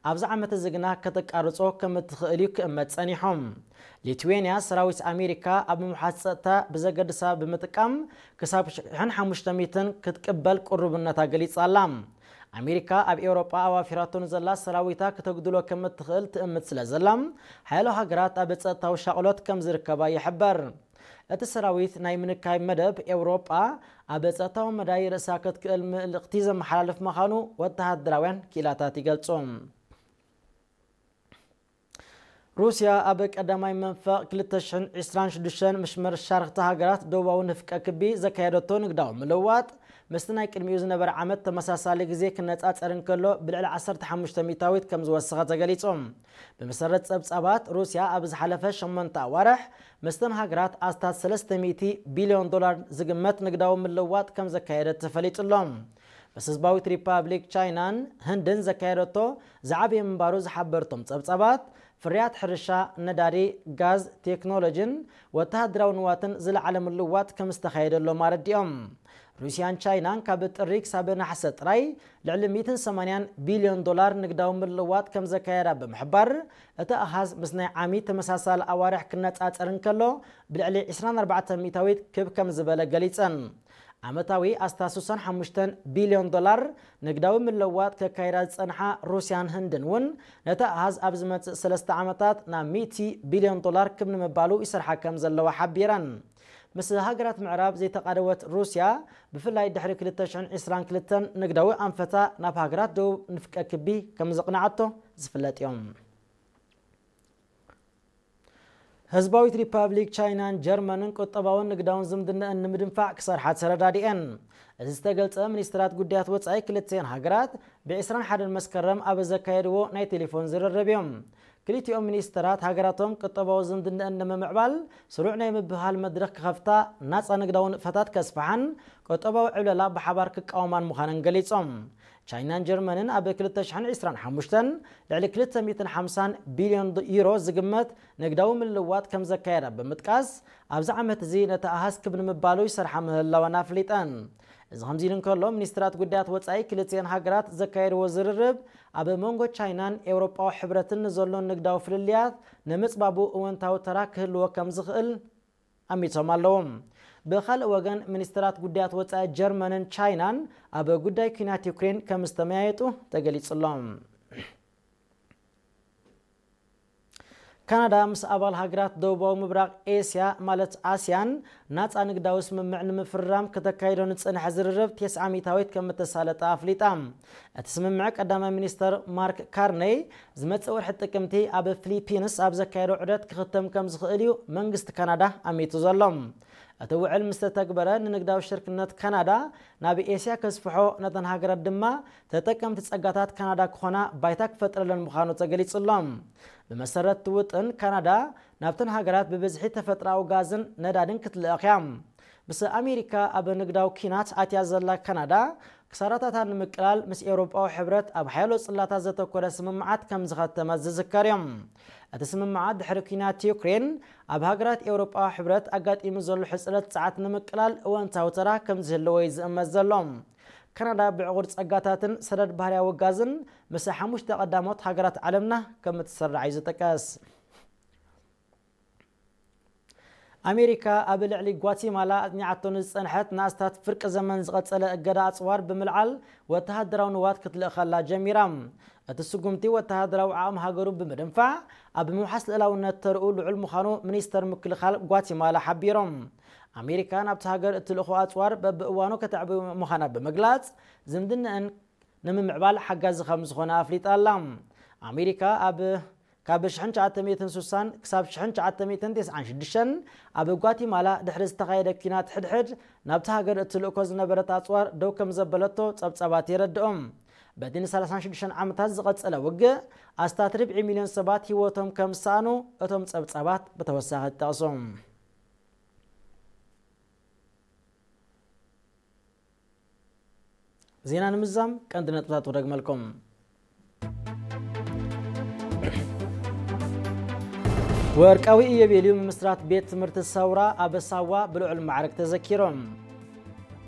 ኣብዚ ዓመት እዚ ግና ከተቃርጾ ከም እትኽእል እዩ ክእመት ጸኒሑ። ሊትዌንያ ሰራዊት ኣሜሪካ ኣብ ምውሓስ ጸጥታ ብዘገድሳ ብምጥቃም ክሳብ ሽሕን ሓሙሽተ ሚእትን ክትቅበል ቅሩብነታ ገሊጻ ኣላ። ኣሜሪካ ኣብ ኤውሮጳ ኣዋፊራቶ ንዘላ ሰራዊታ ክተጉድሎ ከም እትኽእል ትእምት ስለ ዘላ፣ ሓያሎ ሃገራት ኣብ ጸጥታዊ ሻቕሎት ከም ዝርከባ ይሕበር። እቲ ሰራዊት ናይ ምንካይ መደብ ኤውሮጳ ኣብ ጸጥታዊ መዳይ ርእሳ ክትክእል ምልእኽቲ ዘመሓላልፍ ምዃኑ ወተሃደራውያን ክኢላታት ይገልጹ። ሩስያ ኣብ ቀዳማይ መንፈቕ ክልተ ሽሕን ዕስራን ሽዱሽተን ምስ መሻርኽቲ ሃገራት ደቡባዊ ንፍቀ ክቢ ዘካየደቶ ንግዳዊ ምልውዋጥ ምስቲ ናይ ቅድሚኡ ዝነበረ ዓመት ተመሳሳሊ ግዜ ክነጻጸር እንከሎ ብልዕሊ ዓሰርተ ሓሙሽተ ሚእታዊት ከም ዝወሰኸ ተገሊጹ። ብመሰረት ጸብጻባት፣ ሩስያ ኣብ ዝሓለፈ ሸሞንተ ኣዋርሕ ምስተን ሃገራት ኣስታት ሰለስተ ሚእቲ ቢልዮን ዶላር ዝግመት ንግዳዊ ምልውዋጥ ከም ዘካየደት ተፈሊጡ ኣሎ። ምስ ህዝባዊት ሪፓብሊክ ቻይናን ህንድን ዘካየደቶ ዝዓበየ ምንባሩ ዝሓበርቶም ጸብጻባት፣ ፍርያት ሕርሻ፣ ነዳዲ፣ ጋዝ፣ ቴክኖሎጂን ወተሃደራዊ ንዋትን ዝለዓለ ምልውዋጥ ከም ዝተኻየደሎም ኣረዲኦም። ሩስያን ቻይናን ካብ ጥሪ ክሳብ ነሓሰ ጥራይ ልዕሊ ሚእትን ሰማንያን ቢልዮን ዶላር ንግዳዊ ምልውዋጥ ከም ዘካየዳ ብምሕባር፣ እቲ ኣሃዝ ምስ ናይ ዓሚ ተመሳሳሊ ኣዋርሕ ክነጻጸር እንከሎ ብልዕሊ ዕስራን ኣርባዕተን ሚእታዊት ክብ ከም ዝበለ ገሊጸን። ዓመታዊ ኣስታት ስሳን ሓሙሽተን ቢልዮን ዶላር ንግዳዊ ምልውዋጥ ከካይዳ ዝጸንሓ ሩስያን ህንድን እውን ነቲ ኣሃዝ ኣብ ዝመጽእ ሰለስተ ዓመታት ናብ ሚእቲ ቢልዮን ዶላር ክብ ንምባሉ ይሰርሓ ከም ዘለዋ ሓቢረን። ምስ ሃገራት ምዕራብ ዘይተቓደወት ሩስያ፣ ብፍላይ ድሕሪ ክልተ ሽሕን ዕስራን ክልተን ንግዳዊ ኣንፈታ ናብ ሃገራት ደቡብ ንፍቀ ክቢ ከም ዘቕንዓቶ ዝፍለጥ እዮም። ህዝባዊት ሪፓብሊክ ቻይናን ጀርመንን ቁጠባውን ንግዳውን ዝምድናኣን ንምድንፋዕ ክሰርሓ ተረዳዲኤን። እዚ ዝተገልጸ፣ ሚኒስትራት ጉዳያት ወጻኢ ክልቲኤን ሃገራት ብ ዕስራን ሓደን መስከረም ኣብ ዘካየድዎ ናይ ቴሌፎን ዝርርብ እዮም። ክልቲኦም ሚኒስትራት ሃገራቶም ቁጠባዊ ዝምድናኣን ንምምዕባል ስሩዕ ናይ ምብህሃል መድረኽ ክኸፍታ፣ ናጻ ንግዳዊ ንጥፈታት ከስፍሓን ቁጠባዊ ዕብለላ ብሓባር ክቃወማን ምዃነን ገሊጾም። ቻይናን ጀርመንን ኣብ ክልተ ሽሕን ዕስራን ሓሙሽተን ልዕሊ ክልተ ሚእትን ሓምሳን ቢልዮን ዩሮ ዝግመት ንግዳዊ ምልውዋጥ ከም ዘካየዳ ብምጥቃስ፣ ኣብዚ ዓመት እዚ ነቲ ኣሃዝ ክብ ንምባሉ ይሰርሓ ምህላወን ኣፍሊጠን። እዚ ከምዚ ኢሉ እንከሎ፣ ሚኒስትራት ጉዳያት ወጻኢ ክልቲኤን ሃገራት ዘካየድዎ ዝርርብ፣ ኣብ መንጎ ቻይናን ኤውሮጳዊ ሕብረትን ንዘሎ ንግዳዊ ፍልልያት ንምጽባቡ እወንታዊ ተራ ክህልዎ ከም ዝኽእል ኣሚቶም ኣለዉ። ብኻልእ ወገን፣ ሚኒስትራት ጉዳያት ወጻኢ ጀርመንን ቻይናን ኣብ ጉዳይ ኲናት ዩክሬን ከም ዝተመያየጡ ተገሊጹ ኣሎ። ካናዳ ምስ ኣባል ሃገራት ደቡባዊ ምብራቕ ኤስያ፣ ማለት ኣስያን፣ ናጻ ንግዳዊ ስምምዕ ንምፍርራም ከተካይዶ ንጽንሐ ዝርርብ ተስዓ ሚእታዊት ከም እተሳለጠ ኣፍሊጣ። እቲ ስምምዕ፣ ቀዳማይ ሚኒስተር ማርክ ካርኔይ ዝመጽእ ወርሒ ጥቅምቲ ኣብ ፊሊፒንስ ኣብ ዘካየዶ ዑደት ክኽተም ከም ዝኽእል እዩ መንግስቲ ካናዳ ኣሚቱ ዘሎ። እቲ ውዕል ምስ ተተግበረ፣ ንንግዳዊ ሽርክነት ካናዳ ናብ ኤስያ ከስፍሖ፣ ነተን ሃገራት ድማ ተጠቀምቲ ጸጋታት ካናዳ ክኾና ባይታ ክፈጥረለን ምዃኑ ተገሊጹ ኣሎ። ብመሰረት እቲ ውጥን፣ ካናዳ ናብተን ሃገራት ብብዝሒ ተፈጥሮኣዊ ጋዝን ነዳድን ክትልእኽ እያ። ምስ ኣሜሪካ ኣብ ንግዳዊ ኲናት ኣትያ ዘላ ካናዳ፣ ክሳራታታ ንምቅላል ምስ ኤውሮጳዊ ሕብረት ኣብ ሓያሎ ጽላታት ዘተኮረ ስምምዓት ከም ዝኸተመት ዝዝከር እዩ። እቲ ስምምዓት፣ ድሕሪ ኲናት ዩክሬን ኣብ ሃገራት ኤውሮጳዊ ሕብረት ኣጋጢሙ ዘሎ ሕጽረት ጸዓት ንምቅላል እወንታዊ ተራ ከም ዝህልዎ እዩ ዝእመት ዘሎ። ካናዳ ብዕቑር ጸጋታትን ሰደድ ባህርያዊ ጋዝን ምስ ሓሙሽተ ቀዳሞት ሃገራት ዓለምና ከም እትስራዕ እዩ ዝጥቀስ። ኣሜሪካ ኣብ ልዕሊ ጓቲማላ ኣጽኒዓቶ ንዝጸንሐት ንኣስታት ፍርቂ ዘመን ዝቐጸለ እገዳ ኣጽዋር ብምልዓል፣ ወተሃደራዊ ንዋት ክትልእኸላ ጀሚራ። እቲ ስጉምቲ፣ ወተሃደራዊ ዓቕሚ ሃገሩ ብምድንፋዕ፣ ኣብ ምውሓስ ልእላውነት ተርኡ ልዑል ምዃኑ ሚኒስተር ምክልኻል ጓቲማላ ሓቢሮም። ኣሜሪካ ናብቲ ሃገር እትልእኾ ኣጽዋር በብእዋኑ ከተዕቢ ምዃና ብምግላጽ፣ ዝምድናኣን ንምምዕባል ሓጋዚ ከም ዝኾነ ኣፍሊጣ ኣላ። ኣሜሪካ ኣብ ካብ ሽሕን ትሽዓተ ሚእትን ስሳን ክሳብ ሽሕን ትሽዓተ ሚእትን ተስዓን ሽዱሽተን ኣብ ጓቲማላ ድሕሪ ዝተኻየደ ኲናት ሕድሕድ ናብቲ ሃገር እትልእኮ ዝነበረት ኣጽዋር ደው ከም ዘበለቶ ጸብጻባት የረድኦም። በቲ ንሰላሳን ሽዱሽተን ዓመታት ዝቐጸለ ውግእ፣ ኣስታት ርብዒ ሚልዮን ሰባት ህይወቶም ከም ዝሰኣኑ እቶም ጸብጻባት ብተወሳኺ ይጠቕሱ። ዜና ንምዛም ቀንዲ ነጥብታት ክደግመልኩም። ወርቃዊ ኢዮቤልዩ ምምስራት ቤት ትምህርቲ ሰውራ ኣብ ሳዋ ብልዑል ማዕረግ ተዘኪሮም።